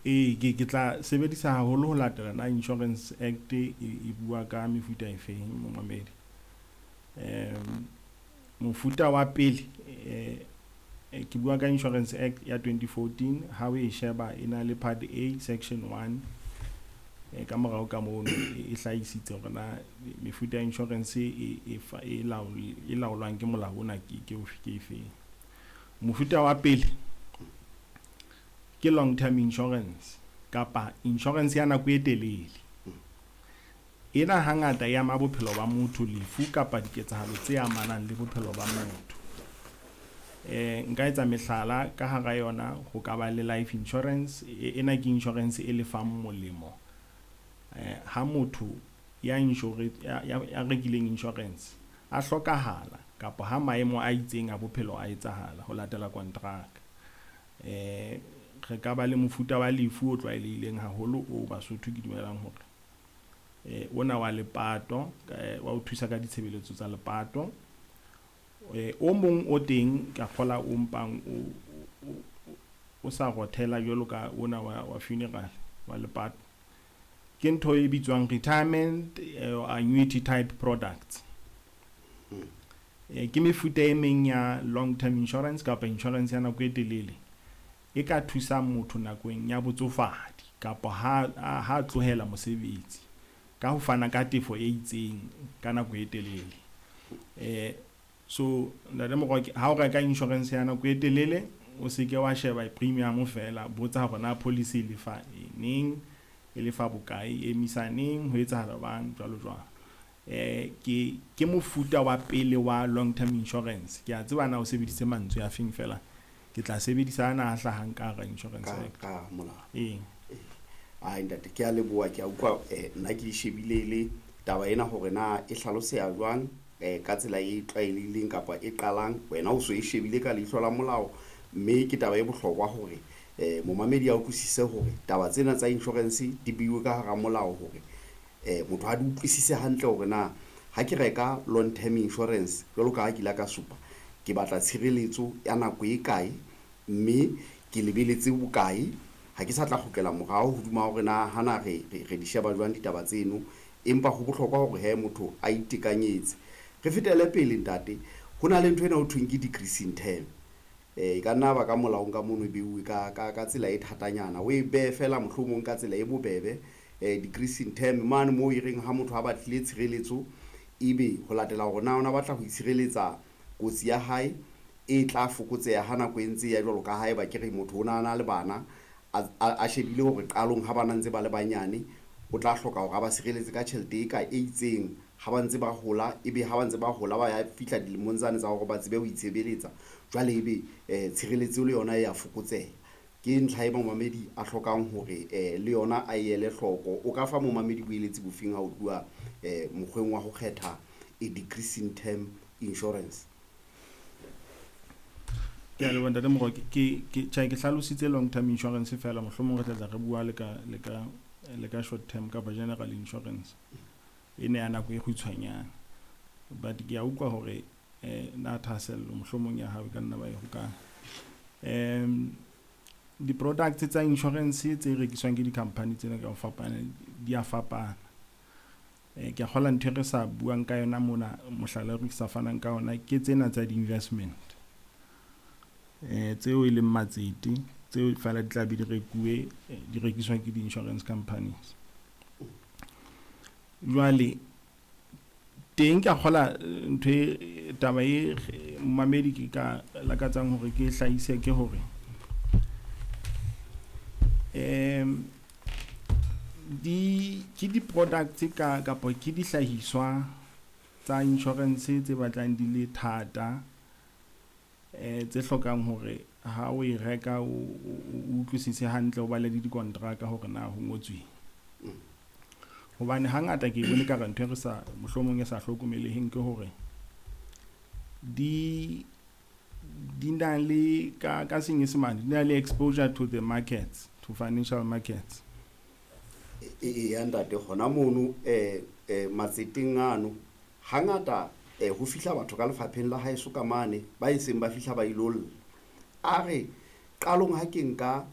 Ee, ke tla sebedisa haholo ho latela na Insurance Act e bua ka mefuta e feng, momamedi. Mofuta wa pele, ke bua ka Insurance Act ya 2014. Ha o e sheba, e na le part A, section 1. Ka morao ka mono e hlahisitse hore na mefuta ya insurance e laolwang ke molao ona ke ofe, ke efeng. Mofuta wa pele ke long term insurance kapa insurance ya nako e telele. Ena hangata e ama bophelo ba motho, lefu kapa diketsahalo tse amanang le bophelo ba motho. Nka etsa mehlala ka hara yona, ho ka ba le life insurance. Ena ke insurance e lefang molemo ha motho ya insure ya rekileng insurance a hlokahala kapa ha maemo a itseng a bophelo a etsahala ho latela kontraka. Re ka ba le mofuta wa lefu o tlwaelehileng haholo o Basotho ke dumelang hore ona wa lepato, wa o thusa ka ditshebeletso tsa lepato. O mong o teng ka kgola o mpang o sa rothela jwalo ka ona wa funeral, wa lepato, ke ntho e bitswang retirement annuity type products. Ke mefuta e meng ya long term insurance kapa insurance ya nako e telele e ka thusang motho nakong ya botsofadi kapa ha tlohela mosebetsi ka ho fana ka tefo e itseng ka nako e telele. So ntate Moroke, ha o reka insurance ya nako e telele, o seke wa sheba premium fela, botsa hore na policy e lefa neng, e lefa bokae, e emisa neng, ho etsahala bang, jwalo jwalo. Ke mofuta wa pele wa long term insurance. Ke a tseba na o sebedise mantswe a feng, fela ke tla sebedisa ana a hlahang ka hara Insurance Act. Ka molao. Ee. Ai ntate, ke a leboha, ke a utlwa. Nna ke di shebile le taba ena hore na e hlaloseha jwang ka tsela e tlwaelehileng kapa e qalang. Wena o so e shebile ka leihlo la molao, mme ke taba e bohlokwa hore momamedi a utlwisise hore taba tsena tsa insurance di beiwe ka hara molao hore motho a di utlwisise hantle hore na ha ke reka long term insurance, jwalo ka ha ke ile ka supa, ke batla tshireletso ya nako e kae, mme ke lebeletse bokae, ha ke sa tla kgutlela morao hodima hore na hana re di sheba jwang ditaba tseno. Empa ho bohlokwa hore he motho a itekanyetse. Re fetele pele, ntate. Ho na le ntho ena ho thweng ke decreasing term. E ka nna ba ka molaong ka mono e beuwe ka tsela e thatanyana, o e behe fela mohlomong ka tsela e bobebe. Decreasing term mane moo e reng ha motho a batlile tshireletso, ebe ho latela hore na ona batla ho itshireletsa, kotsi ya hae e tla fokotseha ha nako e ntse ya. Jwalo ka haeba ke re motho o na na le bana, a shebile hore qalong ha bana ntse ba le banyane o tla hloka hore a ba sireletse ka tjhelete e ka e itseng. Ha ba ntse ba hola, ebe ha ba ntse ba hola, ba ya fihla dilemong tsane tsa hore ba tsebe ho itshebeletsa, jwale ebe tshireletso le yona e ya fokotseha. Ke ntlha e momamedi a hlokang hore le yona a ele hloko. O ka fa momamedi boeletsi bofeng ha o tluwa mokgweng wa ho kgetha a decreasing term insurance? Ke a leboha, ntate Moroke. Ke tjhe, ke hlalositse long term insurance fela, mohlomong re tla tla re bua le ka short term kapa general insurance e ne ya nako e kgutshwanyane. But ke a utlwa hore na thahasello mohlomong ya hao e ka nna ba e hokae. Di-products tsa insurance tse rekiswang ke di-company tsena ka ho fapana di a fapana. Ke a kgola ntho e re sa buang ka yona mona, mohlala re sa fanang ka ona ke tsena tsa di-investment tseo e leng matsete, tseo fela di tla be di rekuwe, di rekiswa ke di-insurance companies. Jwale teng ke a kgola ntho e taba e momamedi ke ka lakatsang hore ke hlahise ke hore di ke di-products ka kapa ke dihlahiswa tsa insurance tse batlang di le thata, tse hlokang hore ha o e reka o utlwisise hantle, o bale le dikontraka hore na ho ngotsweng, hobane hangata ke bone ka re ntho e re sa mohlomong e sa hlokomeleheng ke hore di na le ka Senyesemane di na le exposure to the markets, to financial markets. E ya ntate, hona mono matseteng ano hangata ho fihla batho ka lefapheng la haeso ka mane ba e seng ba fihla ba ilo lla, a re qalong ha ke nka